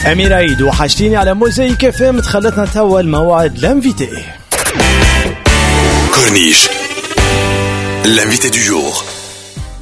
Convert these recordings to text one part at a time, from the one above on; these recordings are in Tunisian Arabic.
أمير عيد وحشتيني على موزايك اف ام. دخلتنا توا الموعد l'invité. Corniche, l'invité du jour.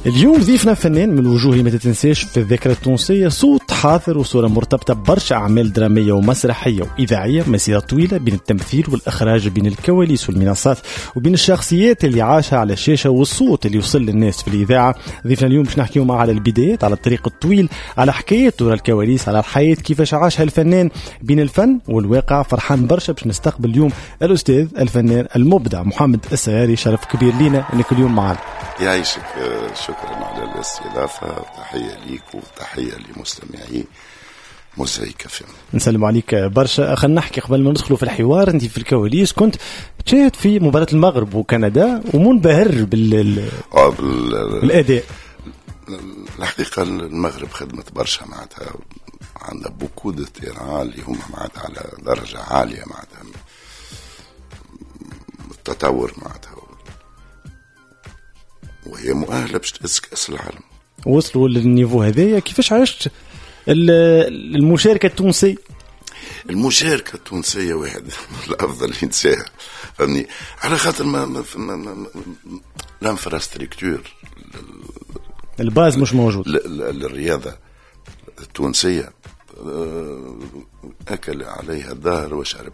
اليوم ضيفنا فنان من الوجوه اللي ما تتنساش في الذاكرة التونسية، صوت حاضر وصورة مرتبطة برشا أعمال درامية ومسرحية وإذاعية، مسيرة طويلة بين التمثيل والإخراج، بين الكواليس والمنصات، وبين الشخصيات اللي عاشها على الشاشة والصوت اللي وصل للناس في الإذاعة. ضيفنا اليوم باش نحكيو معاه على البدايات، على الطريق الطويل، على حكايته ورا الكواليس، على الحياة كيفاش عاشها الفنان بين الفن والواقع. فرحان برشا باش نستقبل اليوم الأستاذ الفنان المبدع محمد السياري. شرف كبير لينا انك اليوم معنا. يعيشك، شكرا على الاستضافة، تحية ليك وتحية لمستمعي موزايك اف ام. نسلم عليك برشا. خلينا نحكي قبل ما ندخلوا في الحوار، انت في الكواليس كنت تشاهد في مباراة المغرب وكندا ومنبهر بالأداء. الحقيقة المغرب خدمت برشا، معناتها عندها beaucoup de terrain اللي هما معناتها على درجة عالية، معناتها التطور، معناتها وهي مؤهلة باش تهز كأس العالم. وصلوا لل niveau هذايا. كيفاش عشت المشاركة التونسية؟ المشاركة التونسية واحد الأفضل ينساها، فهمني، على خاطر ما l'infrastructure ال base مش موجود للرياضة التونسية، أكل عليها الدهر وشرب.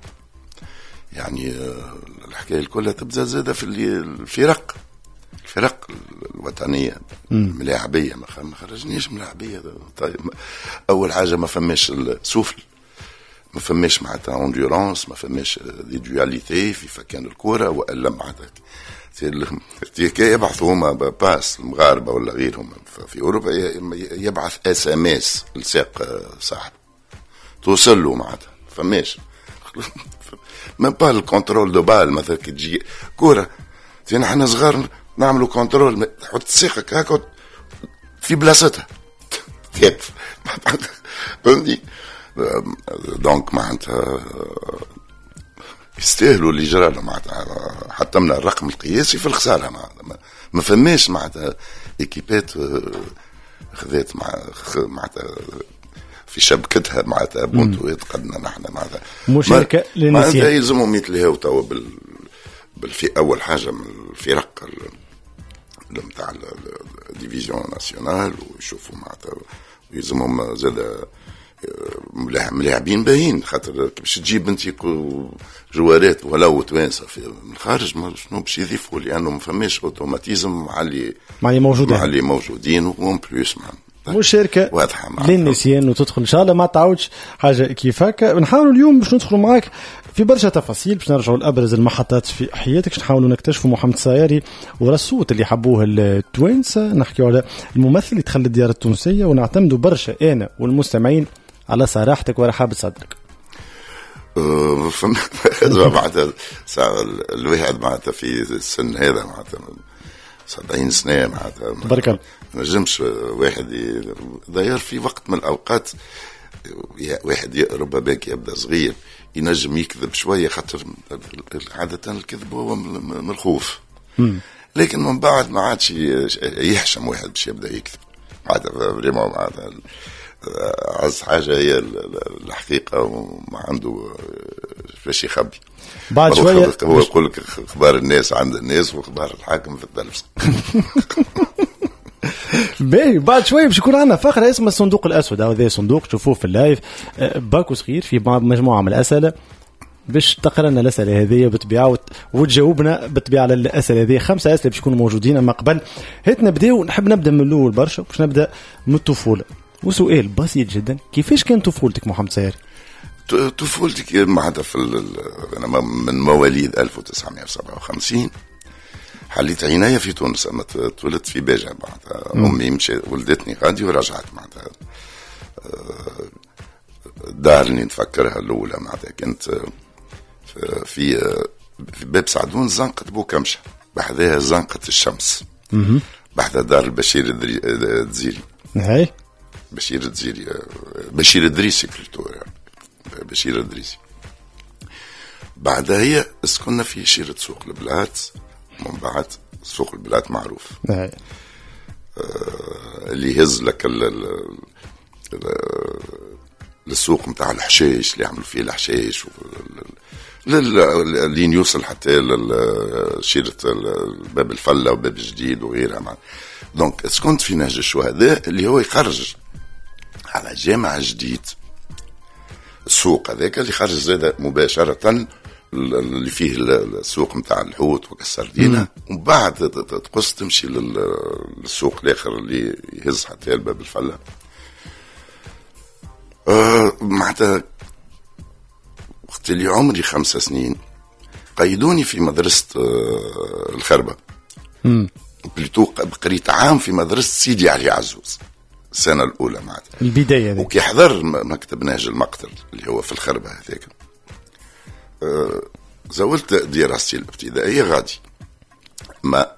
يعني الحكاية كلها تبدا زادة في الفرق الوطنية ملاعبية، ما خرجنيش ملاعبية. طيب، أول حاجة ما فماش السوفل، ما فماش معناتها endurance، ما فماش des dualités في فكان الكورة، وإلا معناتها يبعثوا هما passe المغاربة ولا غيرهم في أوروبا، يبعث SMS لساق صاحب توصل له، معناتها فماش même pas ال contrôle de balle. مثلا كي تجي كورة نحن صغار نعملوا contrôle، تحط ساقك هكا في بلاصتها كيف، فهمتني؟ donc معناتها يستاهلوا اللي جرى لهم، معناتها حطمنا الرقم القياسي في الخسارة، معناتها ما فماش معناتها équipe ات خذات معناتها في شبكتها معناتها بونتوات قدنا نحن، معناتها مشاركة للنسيان. معناتها يلزمهم يتلهوا توا بالفئة، أول حاجة من الفرق نتاع ال division nationale، ويشوفوا معناتها يلزمهم زاد ملاعبين باهين، خاطر باش تجيب انت joueur ات ولو توانسة من الخارج شنو باش يضيفوا، لانه ما فماش automatisme مع اللي موجودين، مع اللي موجودين، و en plus مشاركة واضحة للنسيان وتدخل ان شاء الله ما تعاودش حاجة كيف هكا. نحاولوا اليوم باش ندخلوا معاك في برشا تفاصيل، باش نرجعوا لابرز المحطات في حياتك، باش نحاولوا نكتشفوا محمد السياري ورا الصوت اللي حبوه التوانسة، نحكيوا على الممثل اللي دخل الديار التونسية، ونعتمدوا برشا انا والمستمعين على صراحتك ورحابه صدرك. معناتها الواحد معناتها في السن هذا معناتها 70 سنة معناتها تبارك الله، ما نجمش واحد داير في وقت من الأوقات واحد ربما يبدا صغير ينجم يكذب شوية، خاطر عادة الكذب هو من الخوف، لكن من بعد ما عادش يحشم واحد باش يبدا يكذب. معناتها vraiment معناتها أعز حاجة هي الحقيقة، وما عنده باش يخبي. بعد شوية هو يقول لك اخبار الناس عند الناس واخبار الحاكم في التلفزة. باهي، بعد شوية باش يكون عندنا فقره اسمها الصندوق الاسود. هذا صندوق تشوفوه في ال live، باكو صغير في مجموعة من الاسئلة باش تقرا لنا الاسئلة هذه بالطبيعة وتجاوبنا بالطبيعة على الاسئلة هذه. 5 اسئلة باش يكونوا موجودين. اما قبل هات نبداو، نحب نبدا من الاول برشا، باش نبدا من الطفولة. وسؤال بسيط جدا، كيفاش كان طفولتك محمد سياري؟ طفولتي معناتها انا من مواليد 1957، حليت عينيا في تونس، اما تولدت في باجة، معناتها امي مشات ولدتني غادي ورجعت. معناتها الدار اللي نتفكرها الاولى معناتها كنت في باب سعدون، زنقة بوكمشة، بحذاها زنقة الشمس، بحذا دار البشير الدزيري. هاي بشير الدزيري، بشير الدريسي plutôt، بشير الدريسي. بعدها هي سكننا في شيرة سوق البلات، من بعد سوق البلات معروف اللي يهز لك للسوق نتاع الحشيش اللي يعملوا فيه الحشيش، لين يوصل حتى شيرة باب الفلة وباب الجديد وغيرها. donc سكنت في نهج الشهداء اللي هو يخرج على جامع جديد، السوق هذاك اللي خرج زاد مباشرة اللي فيه السوق نتاع الحوت والسردينة، ومن بعد تقص تمشي للسوق الاخر اللي يهز حتى الباب الفلة. معناتها وقت اللي عمري 5 سنين قيدوني في مدرسة الخربة. plutôt قريت عام في مدرسة سيدي علي عزوز السنة الأولى معناتها البداية دي. وكي حضر مكتب نهج المقتل اللي هو في الخربة هذاك، زولت دراستي الابتدائية غادي ما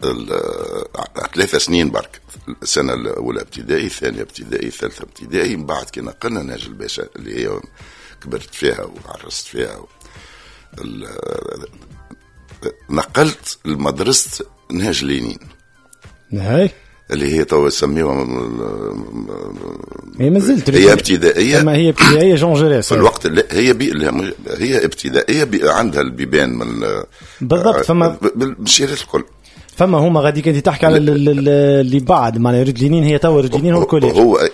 3 سنين برك، السنة الأولى ابتدائي، الثانية ابتدائي، الثالثة ابتدائي. من بعد كي نقلنا نهج الباشا اللي هي كبرت فيها وعرست فيها، نقلت لمدرسة نهج لينين هاي اللي هي تو يسميوها هي مازلت هي ابتدائية، ما هي ابتدائية جون جوريس في الوقت اللي هي هي ابتدائية عندها البيبان من بالضبط، فما بالمشيرات الكل، فما هما غادي كنت تحكي على اللي بعد معناها rue Lénine، هي توا rue Lénine هو ال collège، هو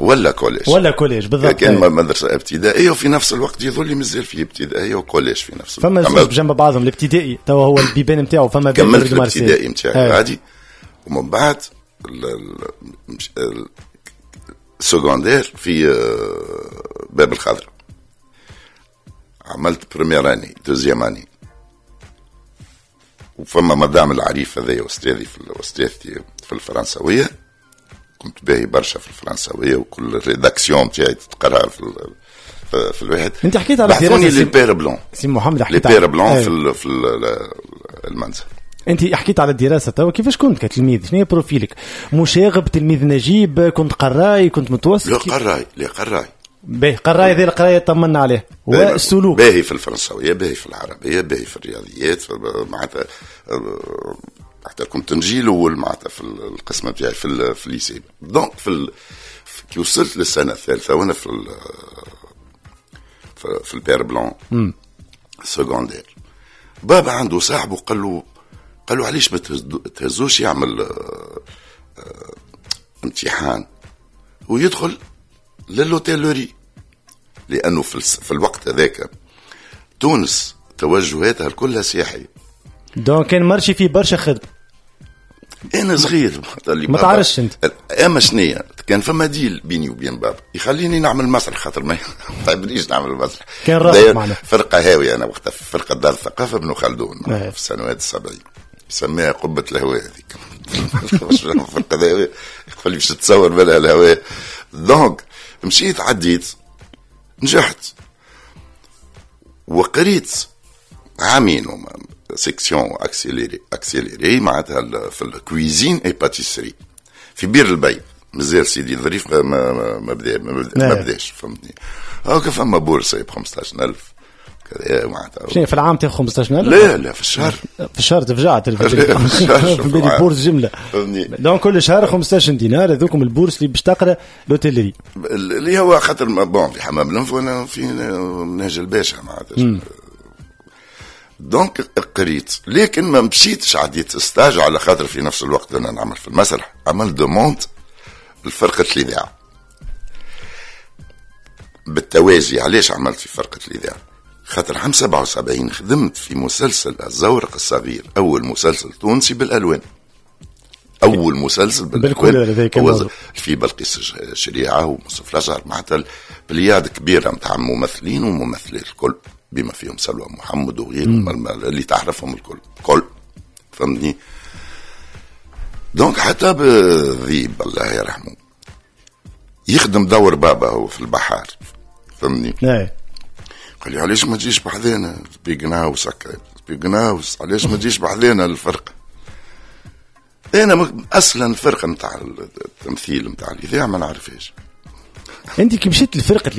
ولا collège، ولا collège بالضبط. كان مدرسه ابتدائية وفي نفس الوقت يظل مازال في ابتدائية و collège في نفس الوقت، فما بجنب بعضهم الابتدائي توا هو البيبان نتاعو، فما كملت الابتدائي نتاعي غادي، ومن بعد ال secondaire في باب الخضراء، عملت première année deuxième année، وفما مدام العريف هذايا استاذي في استاذتي في الفرنساويه، كنت باهي برشا في الفرنساويه وكل ال rédaction تاعي تتقرا في الواحد. انت حكيت على بعثوني les Pères Blancs سي محمد، حكيت les Pères Blancs في المنزل. انت حكيت على الدراسة توا، كيفاش كنت كتلميذ؟ شنو هي profil ك؟ مشاغب، تلميذ نجيب، كنت قراي، كنت متوسط؟ لا قراي، لا قراي. باهي قراي، هذه القراية طمنا عليه. والسلوك باهي في الفرنساويه، باهي في العربية، باهي في الرياضيات، معناتها حتى كنت نجي الاول معناتها في القسم نتاعي في ال lycée. donc في كي وصلت للسنة الثالثة وانا في ال Pères Blancs secondaire، بابا عنده صاحبه قال له علاش ما تهزوش يعمل امتحان ويدخل لل hôtellerie، لانه في الوقت هذاك تونس توجهاتها كلها سياحية، donc كان marché فيه برشا خدمة. انا صغير ما تعرفش انت اما شنيا، كان فما deal بيني وبين بابا يخليني نعمل مسرح، خاطر ما تعبنيش نعمل مسرح، كان رافض معنا فرقه هاوية. انا وقتها في فرقه دار الثقافة بن خلدون في السنوات 70، يسميها قبه الهواء هذيك فرقه هاوية يقول لي باش تتصور بالها الهواء. donc مشيت عديت نجحت وقريت عامين section accélérée معناتها في ال cuisine et pâtisserie في بير البي، مازال سيدي ظريف ما بداش فهمتني. هاكا فما bourse ب 15000 كذا معناتها. شنو في العام تاخذ 15000؟ لا لا في الشهر، في الشهر تفجعت في بالي bourse جملة فهمتني. donc كل شهر 15 دينار هذوكم ال bourse اللي باش تقرا l'hôtellerie اللي هو خاطر bon في حمام الانف وانا في نهج الباشا معناتها. donc قريت، لكن ما مشيتش عديت stage على خاطر في نفس الوقت انا نعمل في المسرح، عملت demande لفرقة الاذاعة بالتوازي. علاش عملت في فرقه الاذاعة؟ خاطر عام 77 خدمت في مسلسل الزورق الصغير، اول مسلسل تونسي بالالوان، اول مسلسل بالالوان هو في بلقيس الشريعة ومصطفى الازهر، معناتها pléiade كبيرة نتاع ممثلين وممثلات الكل بما فيهم سلوى محمد وغيرهم اللي تعرفهم الكل كل فهمتني. donc حتى بذيب الله يرحمه يخدم دور بابا هو في البحار فهمتني. قال لي علاش ما تجيش بحذانا بيقناوس هكا بيقناوس، علاش ما تجيش بحذانا الفرقة؟ انا اصلا الفرقة نتاع التمثيل نتاع الاذاعة ما نعرفهاش. انت كي مشيت لفرقة